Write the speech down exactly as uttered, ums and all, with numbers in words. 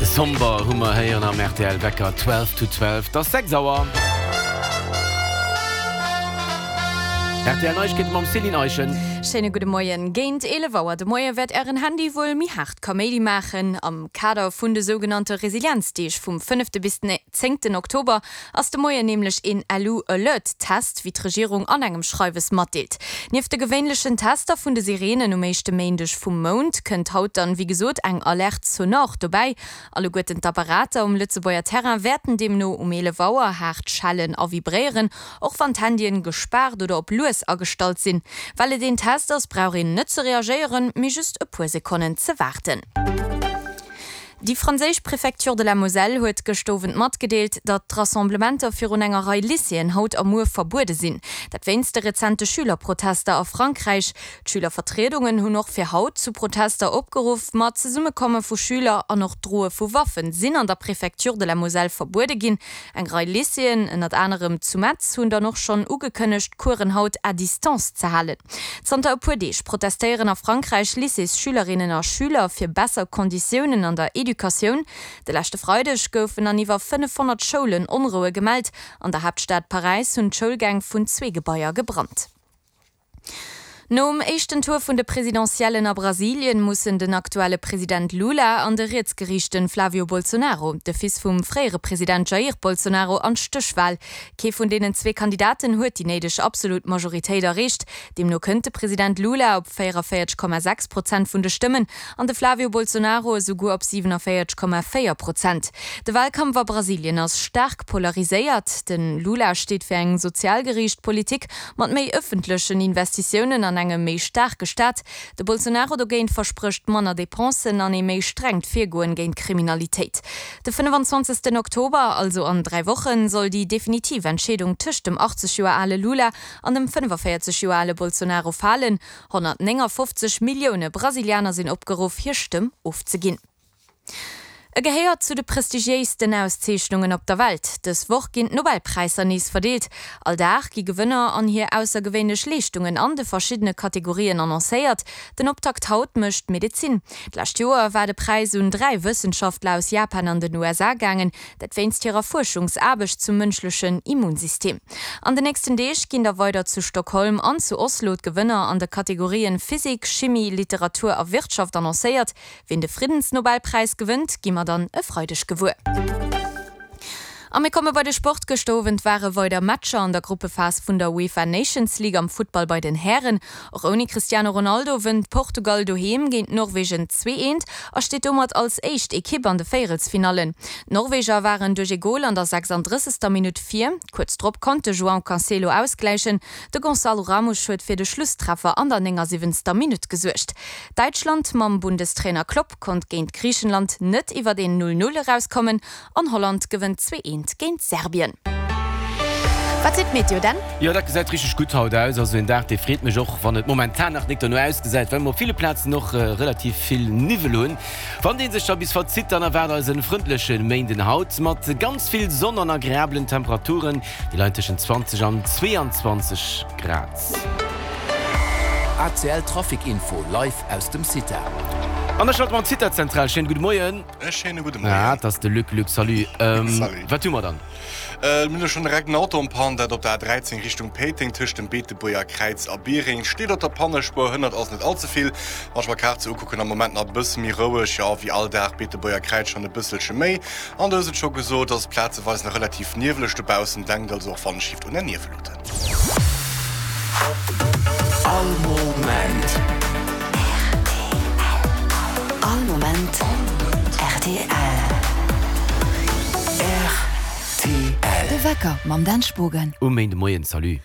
Somber hu mer héieren am R T L Wecker twelve to twelve, 't ass sechs Auer. R T L Neiegkeete mam Céline Eischen. Schéine gudde Moien. Géint eelef Auer de Moie wäert Ären Handy wuel méi haart Kaméidi maachen. Am Kader vun de sougenannte Resilienzdeeg vum fënnefte bis den zéngten Oktober ass de Moien nämlech een Lu-Alert-Test, wéi d'Regierung an engem Schreiwes matdeelt. Nieft de gewéinlechen Tester vun de Sireenen um éischte Méindeg vum Mount kënnt haut dann, wéi gesot, eng Alerte sonore dobäi. Alleguerten d'Apparater um Lëtzebuerger Terrain wäerten deemno um eelef Auer haart schellen a vibréieren, och wann d'Handyen gespaart oder op lues agestallt sinn. Well et een Test ass, brauch een net ze reagéieren, mee just e puer Sekonnen ze waarden. Déi franséisch Préfecture de la Moselle huet gëscht Owend matgedeelt, datt d'Rassemblementer virun enger Rei Lycéeën haut a muer verbuede sinn. Dat wéinst de rezente Schülerprotester a Frankräich. D'Schülervertriedungen hunn och fir haut zu Protester opgeruff, ma d'Zesummekomme vu Schüler an och d'Droe vu Waffen sinn an der Préfecture de la Moselle verbuede ginn. Eng Rei Lycéeën, ënnert anerem zu Metz, hunn dann och schonn ugekënnegt, d'Coursen haut à distance ze halen. Zanter e puer Deeg protestéieren a Frankräich Lycéesschülerinnen a Schüler fir besser Konditiounen an der Educatioun. De leschte Freideg goufen an iwwer fënnefhonnert Schoulen Onroue gemellt. An der Haaptstad Paräis hunn d'Schoulgäng vun zwee Gebaier gebrannt. Nom éischten Tour vun de Presidentiellen a Brasilien mussen den aktuelle President Lula an de rietsgeriichte Flavio Bolsonaro, de Fils vum fréiere President Jair Bolsonaro, an d'Stéchwal. Kee vun deenen zwee Kandidaten huet déi néideg absolut Majoritéit erreecht. Deemno kënnt de President Lula op véieranvéierzeg Komma sechs Prozent vun de Stëmmen an de Flavio Bolsonaro esouguer op siwenavéierzeg Komma véier Prozent. De Walkampf a Brasilien ass staark polariséiert. De Lula steet fir eng sozialgeriicht Politik mat méi ëffentlechen Investitiounen an engem méi staarke Staat. De Bolsonaro dogéint versprécht manner Depensen an ee méi strengt Virgoen géint d'Kriminalitéit. De fënnefenzwanzegsten Oktober, also an dräi Wochen, soll déi definitiv Entscheedung tëscht dem achtzeg Joer ale Lula an dem fënnefavéierzeg Joer ale Bolsonaro falen. honnertnéngafofzeg Millioune Brasilianer sinn opgeruff, hir Stëmm ofzeginn. E gehéiert zu de prestigiéisten Auszeechnungen op der Welt. Dës Woch ginn d'Nobelpräisser nees verdeelt. All Dag gi Gewënner an hir aussergewéinlech Leeschtungen an de verschiddene Kategorien annoncéiert. Den Optakt haut mécht d'Medezin. D'lescht Joer war de Präis un dräi Wëssenschaftler aus Japan an den U S A gaangen, dat wéinst hirer Fuerschungsaarbecht zum mënschlechen Immunsystem. An den nächsten Deeg ginn da weider zu Stockholm an zu Oslo d'Gewënner an de Kategorien Physik, Chimie, Literatur a Wirtschaft annoncéiert. Wien de Friddensnobelpräis gewënnt, gi mer dann e Freideg gewuer. A mir komme bei de Sport. Gëschter Owend ware weider Matcher an der Gruppephas vun der UEFA Nations League am Futtball bei den Hären. Och ouni Cristiano Ronaldo wënnt Portugal doheem géint Norwegen zwee eent a steet domat als éischt Ekipp an de Véierelsfinallen. D'Norweger waren duerch ee Gol an der sechsandrëssegster Minutt vir. Kuerz drop konnt de João Cancelo ausgläichen. De Gonçalo Ramos huet fir de Schlusstreffer an der néngasiwwenzter Minutt gesuergt. Däitschland mam Bundestrainer Klopp konnt géint Griichenland net iwwer een null null erauskommen an Holland gewënnt zwee eent géint Serbien. Wat seet d'Meteo denn? Jo, dat gesäit richteg gutt haut aus. Also een Dag, dee freet mech, och wann et momentan nach nik dono ausgesäit, well mer op ville Plazen och relativ vill Niwwel hunn. Wann dee sech da bis verzitt, dann erwaart eis en frëndleche Méinden haut mat ganz vill Sonn an agreablen Temperaturen, déi leien tëschent zwanzeg an zweeanzwanzeg Grad. A C L Trafic Info live aus dem CITA. An da schalte mer an d'CITA-Zentral. Schéine gudde Moien. E schéine gudde Moien. Ah, dat ass de Luc. Luc, salut. Salut. Wat hu mer dann? Mir hu schonn direkt en Auto en panne, dat op der A dräizéng Richtung Péiteng tëscht dem Beetebuerger Kräiz a Biereng. Steet op der Pannespuer, hënnert also net all ze vill. Wann ech mer d'Kaart sou ukucken, am Moment nach e bësse méi roueg, jo, wéi all Dag, Beetebuerger Kräiz schonn e bësselche méi. An du hues et scho gesot, ass et plazeweis nach relativ nieweleg dobaussen. Denkt also och wann Shift un Är Nieweluten. All Moment. All Moment R T L. R T L. De Wecker mam Dan Spogen. Um Méindemoien, salut.